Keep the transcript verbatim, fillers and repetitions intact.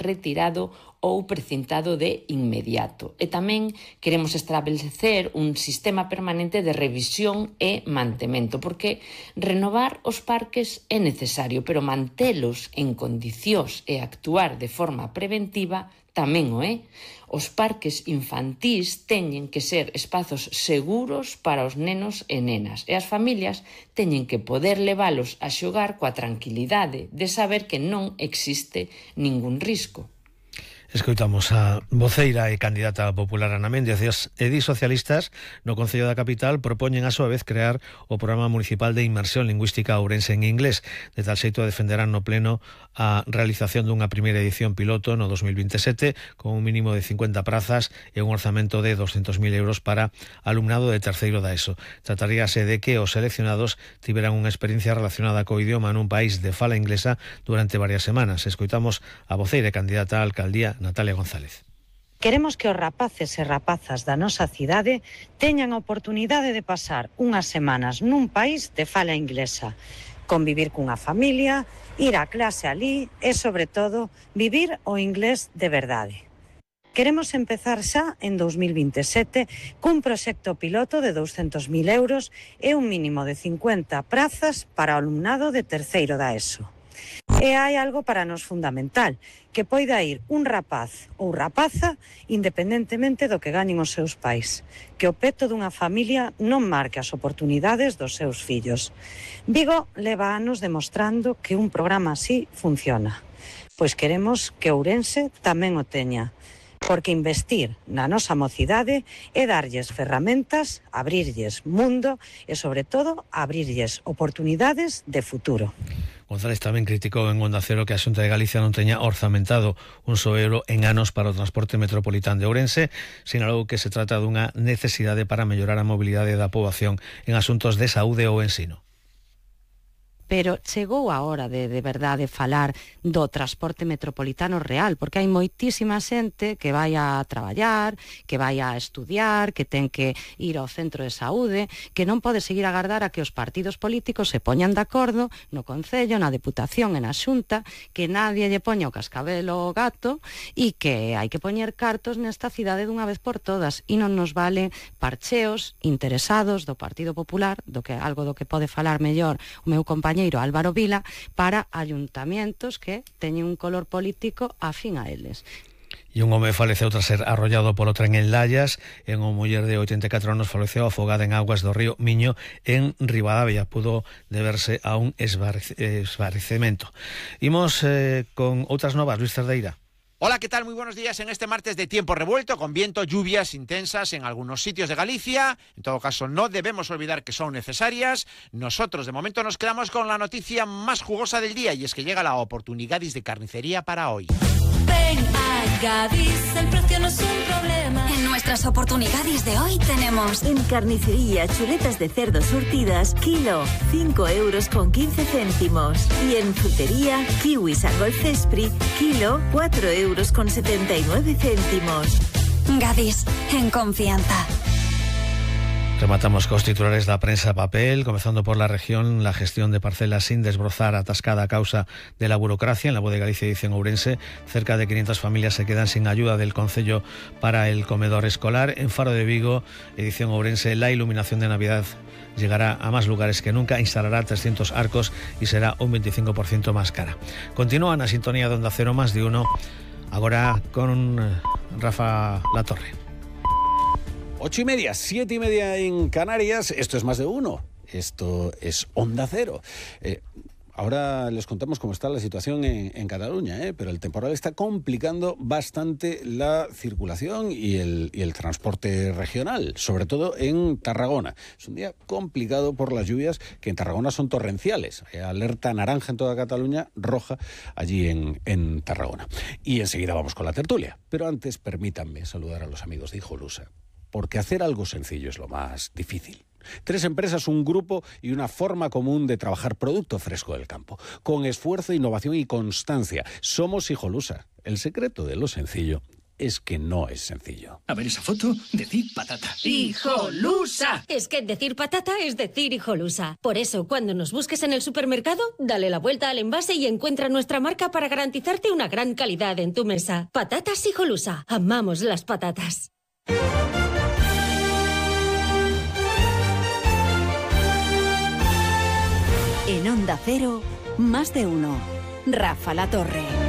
retirado ou precintado de inmediato. E tamén queremos establecer un sistema permanente de revisión e mantemento, porque renovar os parques é necesario, pero mantelos en condicións e actuar de forma preventiva tamén o é. Os parques infantís teñen que ser espazos seguros para os nenos e nenas, e as familias teñen que poder leválos a xogar coa tranquilidade de saber que non existe ningún risco. Escoitamos a voceira e candidata popular Ana Méndez. E os edis socialistas no Concello da Capital propoñen a súa vez crear o Programa Municipal de Inmersión Lingüística Ourense en Inglés. De tal xeito defenderán no pleno a realización dunha primeira edición piloto no dos mil veintisiete con un mínimo de cincuenta prazas e un orzamento de doscientos mil euros para alumnado de terceiro da ESO. Trataríase de que os seleccionados tiveran unha experiencia relacionada co idioma nun país de fala inglesa durante varias semanas. Escoitamos a voceira e candidata a alcaldía Natalia González. Queremos que os rapaces e rapazas da nosa cidade teñan a oportunidade de pasar unhas semanas nun país de fala inglesa, convivir cunha familia, ir á clase alí e, sobre todo, vivir o inglés de verdade. Queremos empezar xa en dos mil veintisiete cun proxecto piloto de douscentos mil euros e un mínimo de cincuenta prazas para o alumnado de terceiro da ESO. E hai algo para nos fundamental, que poida ir un rapaz ou rapaza independentemente do que gañen os seus pais, que o peto dunha familia non marque as oportunidades dos seus fillos. Vigo leva anos demostrando que un programa así funciona, pois queremos que Ourense tamén o teña, porque investir na nosa mocidade é darlles ferramentas, abrirlles mundo e, sobre todo, abrirlles oportunidades de futuro. González tamén criticou en Onda Cero que a Xunta de Galicia non teña orzamentado un só euro en anos para o transporte metropolitán de Ourense. Sinalou que se trata dunha necesidade para mellorar a mobilidade da poboación en asuntos de saúde ou ensino. Pero chegou a hora de, de verdade, falar do transporte metropolitano real, porque hai moitísima xente que vai a traballar, que vai a estudiar, que ten que ir ao centro de saúde, que non pode seguir a agardar a que os partidos políticos se poñan de acordo no Concello, na Deputación e na Xunta, que nadie lle poña o cascabel ao gato e que hai que poñer cartos nesta cidade dunha vez por todas, e non nos vale parcheos interesados do Partido Popular, do que algo do que pode falar mellor o meu compañero Álvaro Vila, para ayuntamientos que teñen un color político afín a eles. E un home faleceu tras ser arrollado polo tren en Lallas. En unha muller de oitenta e catro anos faleceu afogada en augas do río Miño en Ribadavia. Pudo deberse a un esvarecemento. Imos eh, con outras novas. Luis Cerdeira. Hola, ¿qué tal? Muy buenos días en este martes de tiempo revuelto, con viento, lluvias intensas en algunos sitios de Galicia. En todo caso, no debemos olvidar que son necesarias. Nosotros, de momento, nos quedamos con la noticia más jugosa del día, y es que llega la oportunidades de carnicería para hoy. Ven a Gadis, el precio no es un problema. En nuestras oportunidades de hoy tenemos... En carnicería, chuletas de cerdo surtidas, kilo, cinco euros con quince céntimos. Y en frutería, kiwis a Golcespri, kilo, cuatro euros con setenta y nueve céntimos. Gadis, en confianza. Rematamos cos titulares da prensa papel, comezando por la región. La gestión de parcelas sin desbrozar, atascada a causa de la burocracia. En La Voz de Galicia dice en Ourense, cerca de quinientas familias se quedan sin ayuda del Concello para el comedor escolar. En Faro de Vigo, edición Ourense, la iluminación de Navidad llegará a más lugares que nunca, instalará trescientos arcos y será un veinticinco por ciento más cara. Continúan a sintonía de Onda Cero Más de Uno, ahora con Rafa Latorre. Ocho y media, siete y media en Canarias. Esto es Más de Uno. Esto es Onda Cero. Eh, ahora les contamos cómo está la situación en, en Cataluña, ¿eh? Pero el temporal está complicando bastante la circulación y el, y el transporte regional, sobre todo en Tarragona. Es un día complicado por las lluvias, que en Tarragona son torrenciales. Eh, alerta naranja en toda Cataluña, roja allí en, en Tarragona. Y enseguida vamos con la tertulia. Pero antes, permítanme saludar a los amigos de Hijolusa, porque hacer algo sencillo es lo más difícil. Tres empresas, un grupo y una forma común de trabajar producto fresco del campo. Con esfuerzo, innovación y constancia. Somos Hijolusa. El secreto de lo sencillo es que no es sencillo. A ver esa foto, decir patata. ¡Hijolusa! Es que decir patata es decir hijolusa. Por eso, cuando nos busques en el supermercado, dale la vuelta al envase y encuentra nuestra marca para garantizarte una gran calidad en tu mesa. Patatas hijolusa. Amamos las patatas. En Onda Cero, más de uno. Rafa La Torre.